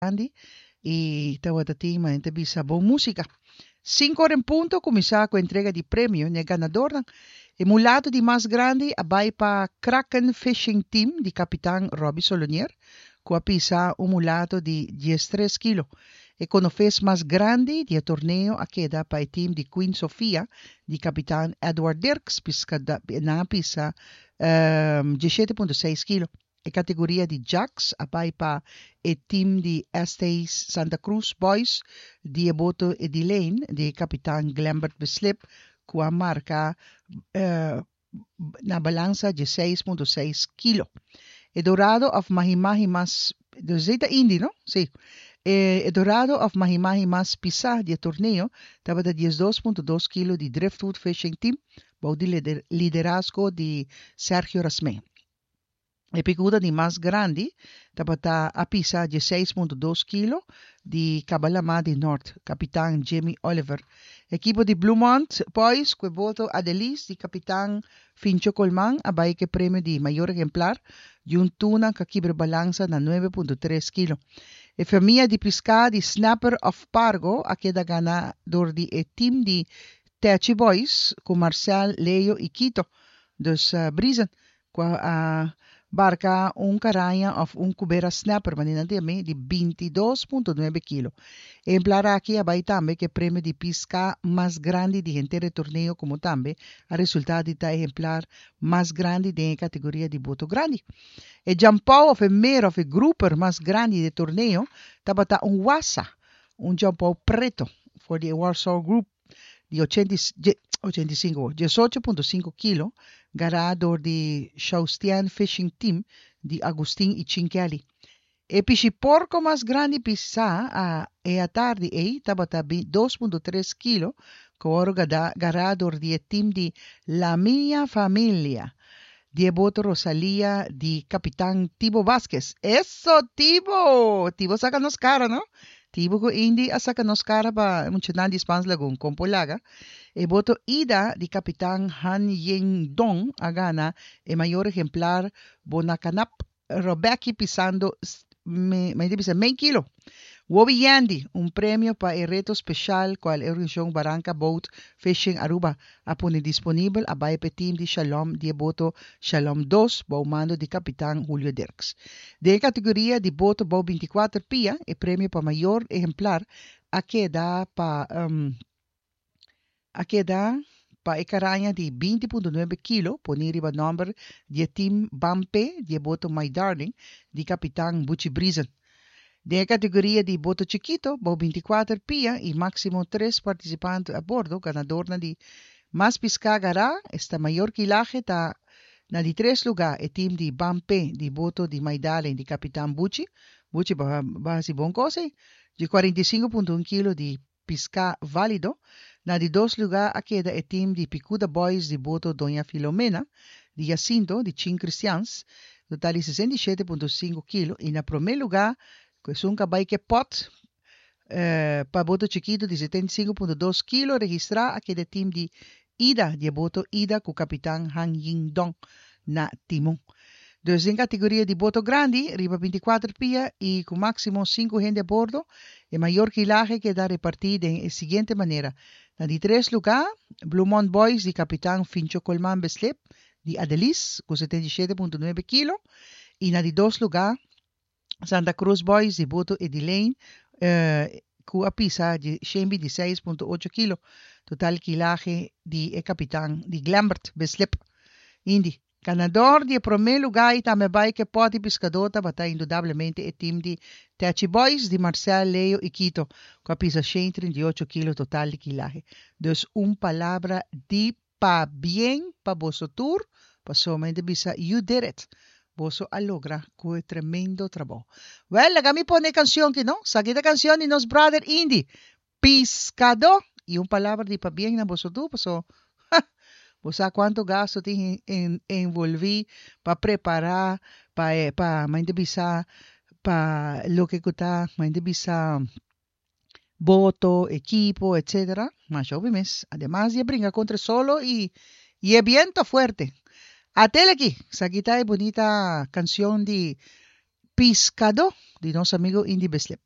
Grandi y tawata tin manera ta bisa bon musica. Cinco ora en punto cuminsa cu entrega di premio n'e ganadornan. E mulato di mas grandi a bay pa Kraken Fishing Team di capitan Robbie Solonier cu a pisa un mulato di diestres kilo. E conofes mas grandi di e torneo a keda pa e team di Queen Sofia di capitan Edward Dirks piscada nan a pisa diesshete punto seis kilo. E categoria di Jacks a bay pa e team di ST Santa Cruz Boys di e boto Edilene di e capitan Glembert Beslip cu a marca na balansa dieseis punto seis kilo. E dorado of mahi-mahi mas, dus esey ta Indy no? Si. E dorado of mahi-mahi mas pisa di e torneo tabata diesdos punto dos kilo di Driftwood Fishing Team bou di liderazgo di Sergio Rasmijn. E picuda di mas grandi tabata a pisa dieseis punto dos kilo di Cabalama di Nort, kapitan Jimmy Oliver. Ekipo di Bluemont Boys ku e boto Adelis di kapitan Fincho Colman a bai ku e premio di mayor ehemplar di un tuna ku a kibra balansa na nuebe punto tres kilo. E famia di piská di Snapper of Pargo a keda gana dor di e tim di Techi Boys ku Marcel, Leo i Quito, dus Briesen, Ku a barka un karaña òf un kubera snapper, manera nan ta yam'é, di bintidos punto nuebe kilo. E ehemplar aki a bai tambe ku e premio di piská mas grandi di henter e torneo komo tambe a resultá di ta e ehemplar mas grandi den e kategoria di boto grandi. E djampou òf e mero òf e grouper mas grandi di e torneo tabata un wasa, un djampou preto for di e Warsaw Group. di ochenta i ochenta i sinku, diesocho punto sinku kilo, gará dor di Shaustian Fishing Team di Agustin i Chin Kelly. E pishi porko mas grandi pisá a e atardi ei tabata dos punto tres kilo ku a wòrdu gará dor di e tim di La Mia Familia di e boto Rosalia di kapitan Tibo Vasquez. Eso Tibo! Tibo saka nos kara no? Tibo ku Indy a saka nos kara pa e muchanan di Spaans Lagoon. Kon por laga? E boto Ida di kapitan Han Ying Dong a gana e mayor ehemplar Bonakanap Robecky pisando mi ta bisa mei kilo. Wobi Yandy, un premio pa e reto special cual e organisacion Baranca Boat Fishing Aruba a pone disponibel a bay p'e team di Shalom di e boto Shalom dos bou mando di capitan Julio Dirks. Den e categoria di boto bou binticuater pia e premio pa mayor ehemplar a keda pa a keda pa e karaña di binti punto nuebe kilo poni riba nòmber di e tim Bampe di e boto My Darling di kapitan Buchi Briesen. Den e kategoria di boto chikito bou binti kuater pia i máksimo tres partisipante a bordo ganadornan di mas piská gará esta mayor kilahe ta na di tres lugá e tim di Bampe di boto di My Darling di kapitan Buchi Buchi bo a hasi bon kos ei di kuarenta i sinku punto un kilo di piská válido. Na di dos lugá a keda e tim di Picuda Boys di boto Doña Filomena di Jacinto di Chin Cristians, total di sesenta i shete punto sinku kilo i na promé lugá ku esun ka bai ke pòt pa boto chikitu di setenta i sinku punto dos kilo registrá a keda e tim di Ida di e boto Ida ku kapitan Han Ying Dong na timon. Dus den kategoria di boto grandi riba binti kuater pia i ku máksimo sinku hende a bordo, e mayor kilahe keda repartí den e siguiente manera, na di tres lugá, Bluemont Boys di kapitan Fincho Colman Beslip di Adelis ku setenta i shete punto nuebe kilo i na di dos lugá, Santa Cruz Boys di boto Edilene ku a pisa di shen binti seis punto ocho kilo, total kilahe di e kapitan di Glembert Beslip. Indy. Ganador di e promé lugá i tambe bai ku e pòt di piskadó tabata indudablemente e tim di Techi Boys di Marcel, Leo i Quito ku a pisa shen trinta i ocho kilo total di kilahe. Dus un palabra di Pabien pa boso tur, pasobra mi ta bisa you did it. Boso a logra cu e tremendo trabou. Well, laga mi pone e cancion ki no. Saki ta cancion di nos brother Indy, Piscadó. Y un palabra di pabien na boso tur, paso ha, bo sa cuanto gasto tin envolvi pa prepara, pa e, pa, mi ta bisa, pa loke cu ta, mi ta bisa, boto, ekipo, etc. Masha hopi mes. Ademas di a bringa kontra e solo i i e biento fuerte. Atel aki, esaki ta e bunita kansion di Piskadó di nos amigo Indy Beslip.